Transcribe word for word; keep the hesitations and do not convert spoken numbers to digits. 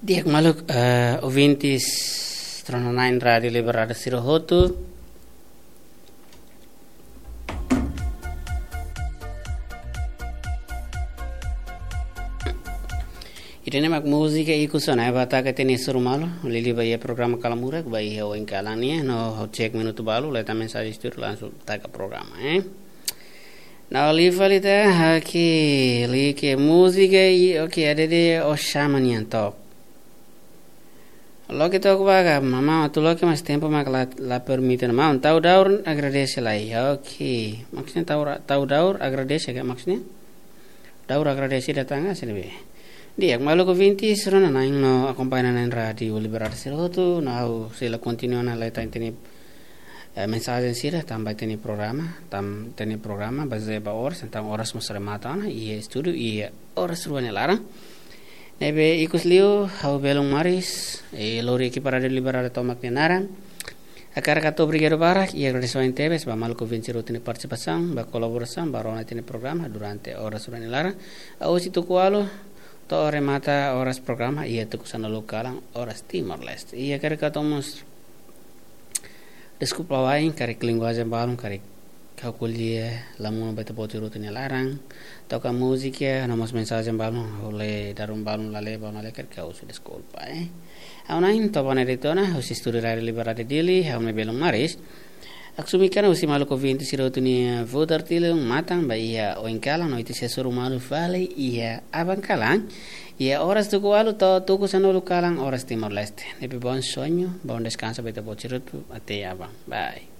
Di'ak maluk, eh, ouvintes rona na'in Rádiu Liberdade sira hotu. Ida-ne'e mak múzika ikus ona, eh, ba taka ita-nia hasoru malu, liuliu ba iha programa Kalan Murak, ba iha oin kalan nian, no ha'u cek minutu balu, leta mensajen estúdiu langsung taka programa, eh. Nah, liu fali ita, oke, liu ke múzika i, oke, ada de o chama nian tok. Loke tok ba ka, mama, atu loke mas tempu mak la, la permite ona. Maun, tau daur agradese lai. Oke. Maksudnya tau ra-, tau daur agradese ka maksudnya? Daur agradese datang ka sini be. Di'ak maluk ouvintes rona na'in no akompaña na'in Rádiu Liberdade sira hotu, no ha'u sei la kontinua ona leta ita-nia, eh, mensajen sira, tanba ita-nia programa, tanba ita-nia programa bazeia ba oras, entaun oras mós remata ona, iha estúdiu, iha oras rua nia laran. Ne'ebé ikus liu, ha'u belun Maris, eh, lori ekipa Rádiu Liberdade tomak nia naran. Hakarak atu obrigadu barak, i agradese tebes, ba maluk ouvinte sira hotu nia partisipasaun, ba kolaborasaun, ba rona ita-nia programa, durante oras rua nia laran. Husi tuku ualu, to'o remata oras programa, iha tuku sanulu kalan, oras Timor-Leste. I hakarak atu mós deskulpa wa'in, karik linguajen balun, karik ha'u ko'alia la monu ba ita-boot sira hotu nia laran. Toka múzika, no mós mensajen balun, ha'u lee dadeer balun la lee, balun la lee, karik ha'u husu deskulpa, eh. Ha'u na'in Tobane Daytona, husi estúdiu Rádiu Liberdade Dili, ha'u-nia belun Maris. Ha'u sumik ona husi maluk ouvinte sira hotu nia futar tilun matan ba iha oin kalan, no ita sei hasoru malu fali iha aban kalan. Iha oras tuku ualu to'o tuku sanulu kalan, oras Timor-Leste. Ne'ebé bom sonho, bom descanso ba ita-boot sira hotu, até aban. Bye.